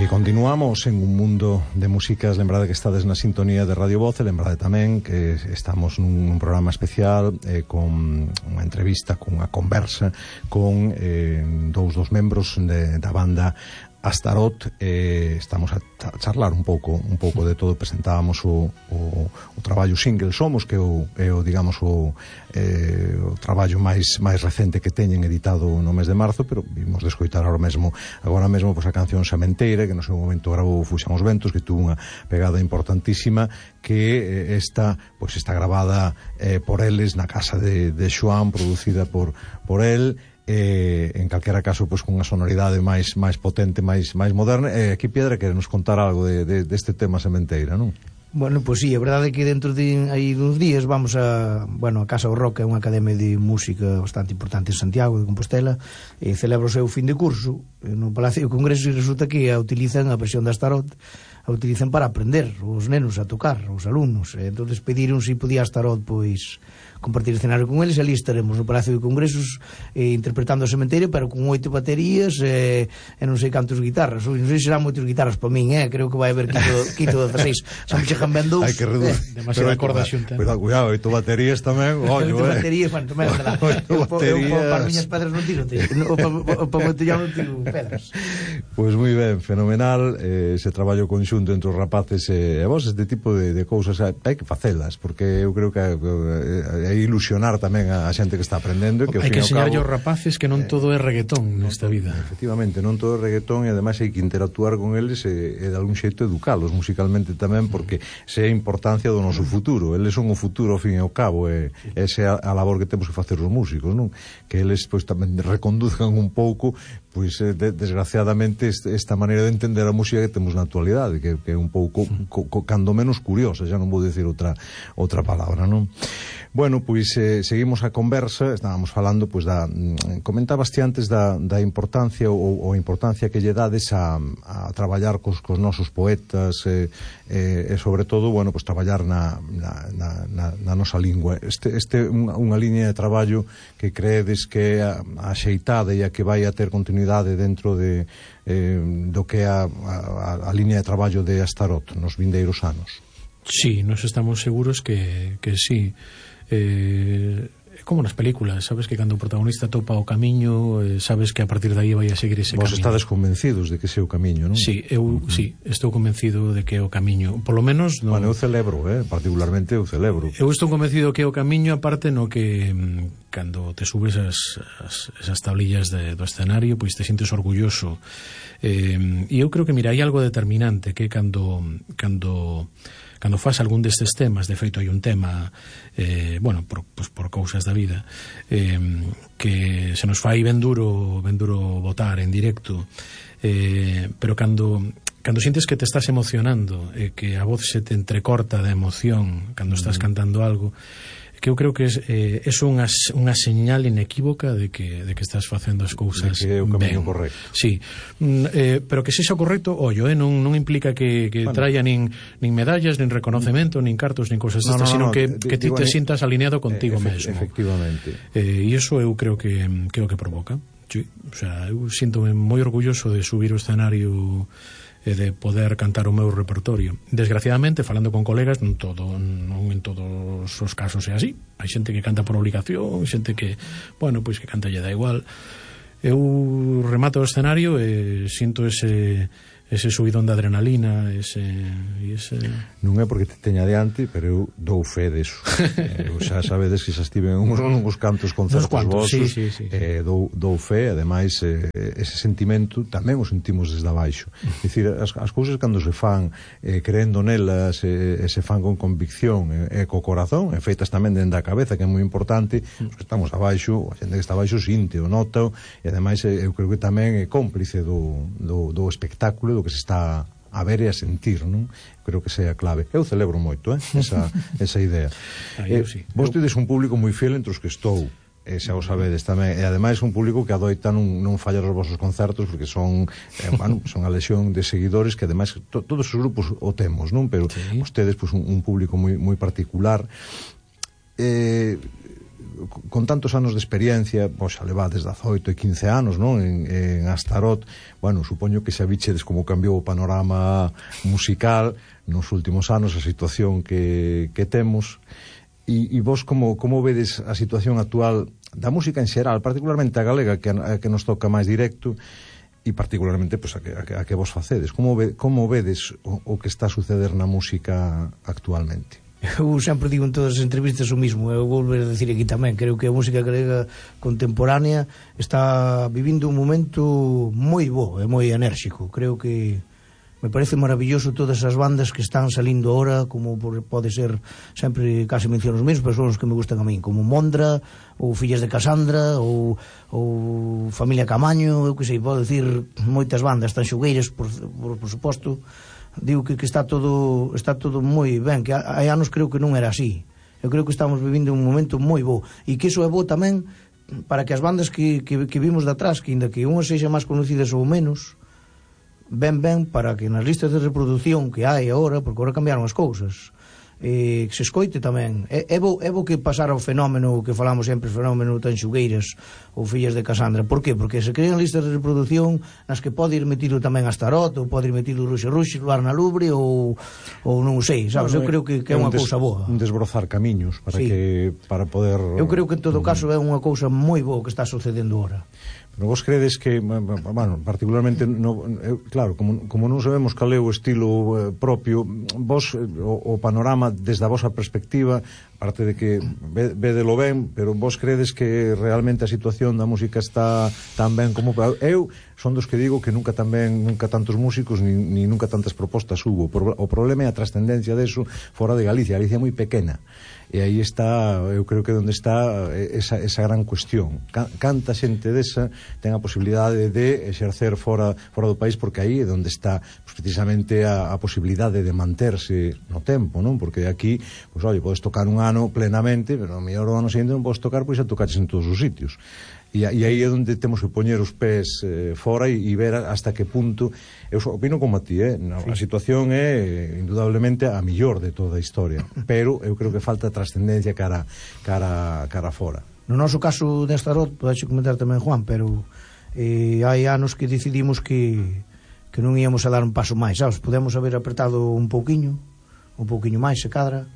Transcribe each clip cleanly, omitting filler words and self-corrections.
Continuamos en un mundo de músicas. Lembrade que estades na sintonía de Radio Voz, e lembrade tamén que estamos nun programa especial con unha entrevista, con unha conversa con dous dos membros da banda Astaroth. Estamos a charlar un pouco de todo. Presentábamos o traballo single Somos, que é o digamos o traballo máis recente que teñen editado no mes de marzo, pero vimos de escoitar agora mesmo pois a canción Sementeira, que no seu momento gravou Fuxan os Ventos, que tuvo unha pegada importantísima, que está gravada por eles na casa de Xoán, producida por el. En calquera caso, pois con unha sonoridade máis potente, máis moderna. Aquí Piedra quere nos contar algo deste tema Sementeira, non? Bueno, pois sí, a verdade é que dentro de aí uns días vamos a Casa do Rock, é unha academia de música bastante importante en Santiago de Compostela, e celebra o seu fin de curso no Palacio de Congresos, e resulta que a utilizan a versión da Astaroth, a utilizan para aprender os nenos a tocar, os alumnos. Entonces pediron se podía Astaroth pois compartir escenario con eles, e ali estaremos no Palacio de Congresos interpretando a Sementeira, pero con 8 baterías e non sei cantos guitarras. Non sei se serán moitas guitarras para min, creo que vai haber quito 16. Xa me chegan ben 2. Hai que reducir. Demasiada corda xunta. Cuidado, 8 baterías tamén. 8 baterías, bueno, tamén andará. Para miñas pedras non tiro, para moito non tiro pedras. Pois moi ben, fenomenal. Ese traballo conxunto entre os rapaces e vos, este tipo de cousas hai que facelas, porque eu creo que é ilusionar tamén a xente que está aprendendo, que hai que enseñarlle aos rapaces que non todo é reggaetón nesta vida. Efectivamente, non todo é reggaetón, e ademais hai que interactuar con eles e de algún xeito educalos musicalmente tamén, porque esa é a importancia do noso futuro. Eles son o futuro ao fin e ao cabo, e esa é a labor que temos que facer os músicos, non? Que eles pois tamén reconduzcan un pouco, pois desgraciadamente esta maneira de entender a música que temos na actualidade, que é un pouco cando menos curiosa, xa non vou dicir outra palabra, non? Bueno, pois seguimos a conversa. Estábamos falando, pois comentabas ti antes da importancia ou a importancia que lle dades a traballar cos nosos poetas, e sobre todo, bueno, pois traballar na nosa lingua. Este unha liña de traballo que creedes que é axeitada e a que vai a ter continuidade dentro do que é a liña de traballo de Astaroth nos vindeiros anos? Sí, nos estamos seguros que sí. Como nas películas, sabes que cando o protagonista topa o camiño, sabes que a partir de aí vai a seguir ese camiño. Vos estades convencidos de que ese é o camiño, non? Sí, estou convencido de que é o camiño. Por lo menos no... Bueno, eu celebro, particularmente eu celebro. Eu estou convencido que é o camiño, aparte no que cando te subes esas tablillas do escenario, pois te sientes orgulloso. E eu creo que, mira, hai algo determinante, que cando faz algún destes temas, de feito hai un tema por cousas da vida, que se nos fai ben duro botar en directo, pero cando sientes que te estás emocionando, que a voz se te entrecorta de emoción cando estás cantando algo, que eu creo que é unha señal inequívoca de que estás facendo as cousas ben. Que é o camiño correcto. Sí, pero que sexa correcto, non implica que traia nin medallas, nin reconocemento, nin cartos, nin cousas destas, sino que ti te sintas alineado contigo mesmo. Efectivamente. E iso eu creo que é o que provoca. Sí, o sea, eu sinto-me moi orgulloso de subir o escenario e de poder cantar o meu repertorio. Desgraciadamente, falando con colegas, non en todos os casos é así. Hai xente que canta por obligación, xente que, pois que canta lle dá igual. Eu remato o escenario e sinto ese subidón de adrenalina, ese... Non é porque te teña diante, pero eu dou fe deso. Xa sabedes que xa estive en uns cantos concertos vosos, dou fe. Ademais, ese sentimento tamén o sentimos desde abaixo. É dicir, as cousas cando se fan creendo nelas, se fan con convicción e co corazón, e feitas tamén dende a cabeza, que é moi importante, os que estamos abaixo, a xente que está abaixo sinte o nota, e ademais eu creo que tamén é cómplice do espectáculo, do que se está a ver e a sentir, non? Creo que sea a clave. Eu celebro moito, esa idea. Vos tedes un público moi fiel entre os que estou, xa o sabedes tamén, e ademais un público que adoita non fallar os vosos concertos, porque son a lesión de seguidores que ademais todos os grupos o temos, non? Pero vostedes un público moi particular. con tantos anos de experiencia, pois xa levades 18 e 15 anos, non? En Astarot, bueno, supoño que xa vichedes como cambiou o panorama musical nos últimos anos, a situación que temos, e vos como vedes a situación actual da música en xeral, particularmente a galega, que nos toca máis directo, e particularmente pues, a que vos facedes? Como vedes o que está a suceder na música actualmente? Eu sempre digo en todas as entrevistas o mismo, eu vou volver a decir aquí tamén, creo que a música galega contemporánea está vivindo un momento moi bo e moi enérxico. Creo que me parece maravilloso todas as bandas que están salindo ahora, como pode ser, sempre casi menciono os mesmos, pero son os que me gustan a min, como Mondra, ou Fillas de Casandra, ou Familia Camaño, eu que sei, podo decir moitas bandas, Tanxugueiras, por suposto. Digo que está todo moi ben, que hai anos creo que non era así. Eu creo que estamos vivindo un momento moi bo, e que iso é bo tamén para que as bandas que vimos de atrás, que ainda que unhas sexan máis conocidas ou menos, ben para que nas listas de reproducción que hai agora, porque agora cambiaron as cousas, que se escoite tamén. É bo que pasara o fenómeno que falamos sempre, o fenómeno Tanxugueiras ou Fillas de Casandra. Por qué? Porque se crean listas de reproducción nas que pode ir metido tamén Astarot, ou pode ir metido Ruxe, Luar na Lubre, ou non sei, sabes? Eu creo que é unha cousa boa. Un desbrozar camiños para poder... Eu creo que en todo caso é unha cousa moi boa que está sucedendo agora. Pero vos credes que, bueno, particularmente claro, como non sabemos cal é o estilo propio, vos o panorama desde a vosa perspectiva, aparte de que vedelo ben, pero vos credes que realmente a situación da música está tan ben como... Eu son dos que digo que nunca tantos músicos ni nunca tantas propostas hubo. O problema é a trascendencia deso fora de Galicia. Galicia é moi pequena, e aí está, eu creo que onde está esa gran cuestión. Canta xente desa ten a posibilidade de exercer fora do país, porque aí é onde está precisamente a posibilidade de manterse no tempo, non? Porque aquí, pois, podes tocar un ano plenamente, pero o mellor o ano seguinte non podes tocar, pois xa tocaches en todos os sitios. E aí é onde temos que poñer os pés fora e ver hasta que punto. Eu opino como a ti, a situación é indudablemente a millor de toda a historia, pero eu creo que falta trascendencia cara fora. No noso caso de Astarot, podes comentar tamén, Juan, pero hai anos que decidimos que non íamos a dar un paso máis, sabes? Podemos haber apertado un pouquiño máis se cadra,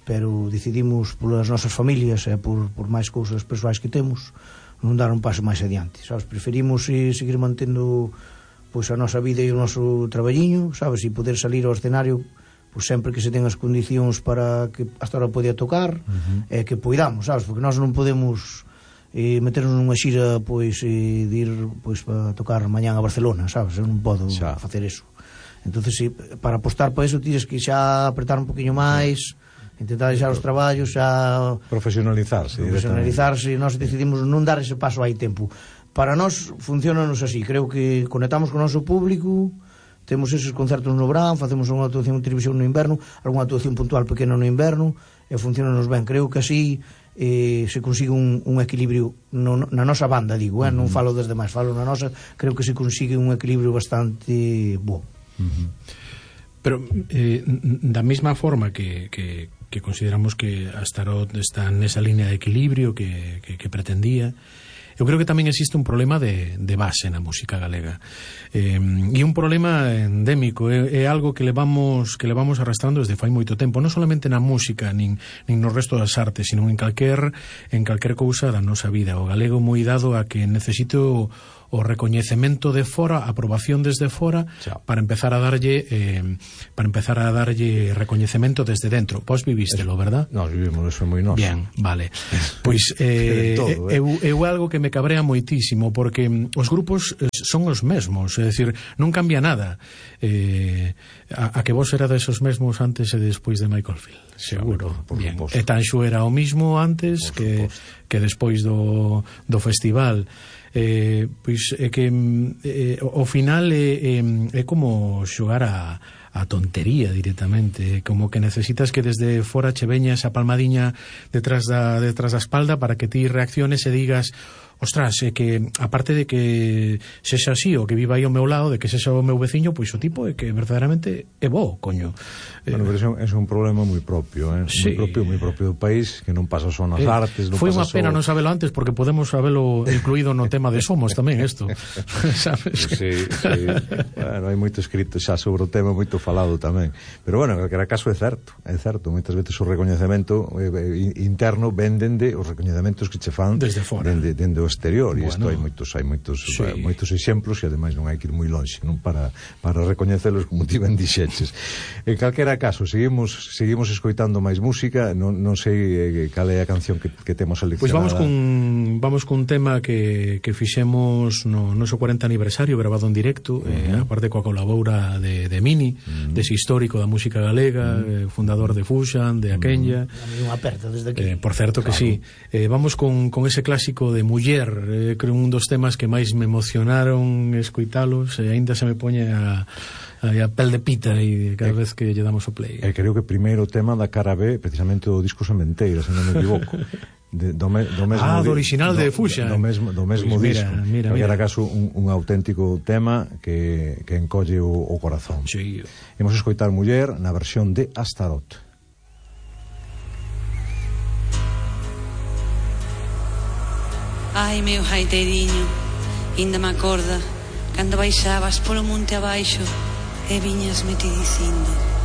pero decidimos polas nosas familias e por máis cousas persoais que temos non dar un paso máis adiante, sabes? Preferimos seguir mantendo pois a nosa vida e o noso traballiño, sabes? E poder salir ao escenario pois sempre que se ten as condicións para que hasta ahora podía tocar, e que poidamos, sabes? Porque nós non podemos meternos nunha xira pois de ir pois para tocar mañán a Barcelona, sabes? Eu non podo facer eso. Entonces, para apostar para eso tienes que xa apretar un poquinho máis, intentar deixar os traballos, xa profesionalizarse. Nós decidimos non dar ese paso hai tempo. Para nós funcionanos así, creo que conectamos con o noso público, temos eses concertos no verán, facemos unha actuación en televisión no inverno, algunha actuación puntual pequena no inverno, e funcionanos ben. Creo que así se consigue un equilibrio na nosa banda, digo, non falo das demais, falo na nosa. Creo que se consigue un equilibrio bastante bo. Pero da mesma forma que consideramos que Astarot está nesa línea de equilibrio que pretendía, eu creo que tamén existe un problema de base na música galega, e un problema endémico, é algo que levamos arrastrando desde fai moito tempo, non solamente na música nin no resto das artes, sino en calquer cousa da nosa vida. O galego moi dado a que necesito o recoñecemento de fora, a aprobación desde fora, para empezar a darlle recoñecemento desde dentro. Vos vivístelo, verdad? Nós vivimos, eso é moi noso. Bien, vale. Pois eu algo que me cabrea moitísimo, porque os grupos son os mesmos, é dicir, non cambia nada. A que vos era desos mesmos antes e despois de Michael Field, seguro. Bien. E Tanxo era o mismo antes que despois do festival. Pois é que ao final é como xogar a tontería directamente, como que necesitas que desde fora che veña esa palmadiña detrás da espalda para que ti reacciones e digas ostras, é que aparte de que sexa así o que viva aí ao meu lado, de que sexa o meu veciño, pois o tipo é que verdadeiramente é bo, coño. Bueno, pero é un problema moi propio, sí. moi propio do país, que non pasa só nas artes, non foi pasa unha pena non sabelo antes, porque podemos sabelo incluído no tema de Somos tamén isto. Sabes? Sí. Bueno, hai moito escrito xa sobre o tema, moito falado tamén. Pero bueno, en calquera caso é certo, moitas veces o recoñecemento interno venden de os recoñecementos que che fan desde fora, dende o exterior, e isto bueno, hai moitos exemplos, e ademais non hai que ir moi longe, non, para recoñecelos, como ti ben dixeches. En calquera caso, seguimos escoitando máis música. Non sei cal é a canción que temos seleccionada. Pois vamos cun tema que fixemos no noso 40 aniversario, grabado en directo, aparte coa colabora de Mini, dese histórico da música galega, fundador de Fuxan, de Aquenya. Unha aperta desde aquí. Por certo que sí. Vamos con ese clásico de Muller, creo un dos temas que máis me emocionaron escoitalos, e aínda se me poñe a pel de pita e cada vez que lle damos o play. Creo que primeiro tema da cara B, precisamente do disco Sementeira, se non me equivoco. Do original de Fuxan. Do mesmo pues disco. Mira. Era caso un auténtico tema que encolle o corazón. Sí. Imos escoitar Muller na versión de Astaroth. Ai, meu jaiteiriño, inda me acorda cando baixabas polo monte abaixo e viñasme ti dicindo: